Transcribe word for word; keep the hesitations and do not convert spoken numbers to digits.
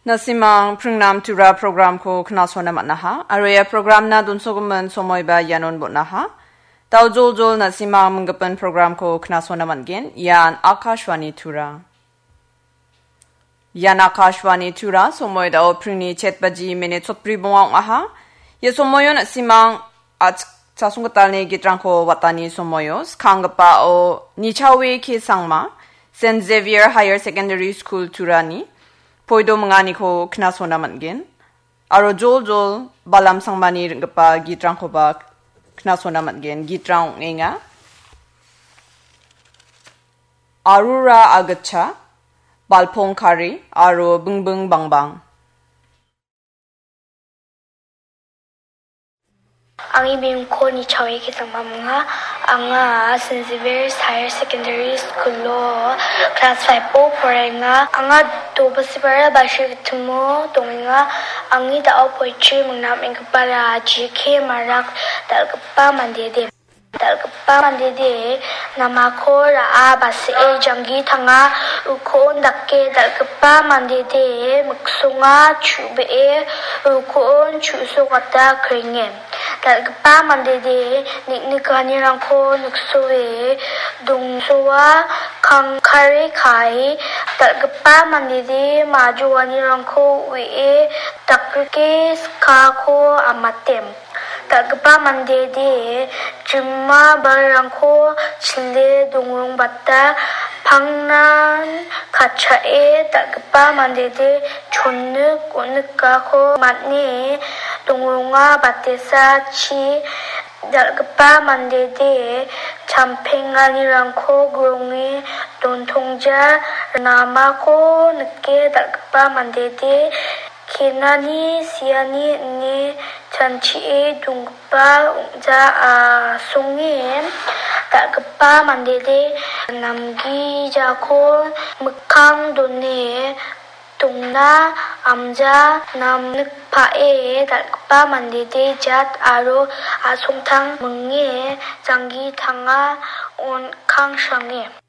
Na·simang Pringnam Tura programko knasona man·aha, aro ia programna donsogimin somoiba ianon bon·aha. Dao joljol na·simang minggipin programko knasona man·gen. Ian Akashvani Tura. Ian Akashvani Tura, somoi dao pringni chet baji minit sotbri bonga ong·aha. Ia somoio na·simang a-, chasonggitalni gitrangko watani somoio, skanggipao Nichawe K Sangma, Saint Xavier Higher Secondary School Turani, poido minganiko knasona man·gen. Aro joljol Balam Sangmani ring·gipa gitrangkoba knasona man·gen. Gitrang ong·enga. Arura Agitcha, Balpong Kari, aro Bingbing Bangbang. Angni bimingko Nichawe K Sangma ong·a. Anga Saint Xavier's Higher Secondary School-o class five-o poraenga. Anga Dobasibara Bashir Gitimo dongenga. Angni dao poetry mingnam ong·gipara G K Marak, dal·gipa mandede. Dal·gipa mandede namako ra·a, ba·see janggi tanga, uko on dake dal·gipa mandede miksonga chu·bee uko on chu·sokata krenge. Dal·gipa mandede nik·nikanirangko niksoe dongsoa kangkare kae, dal·gipa mandede majoanirangko uie dakrike skako amate. Dal·gipa mandede jima balrangko chile dongrongbata pangnan katchae, dal·gipa mandede chonik on·nikako man·e dongronga, batesa chi. Dal·gipa mandede champenganirangko gronge dontongja, namako nike dal·gipa mandede kenani siani ine chanchie donggipa ong·ja asonge. Dal·gipa mandede namgijako mikkang done dongna amja namnikpae, dal·gipa mandede jat aro asongtang minge janggi tanga on-, kangsange.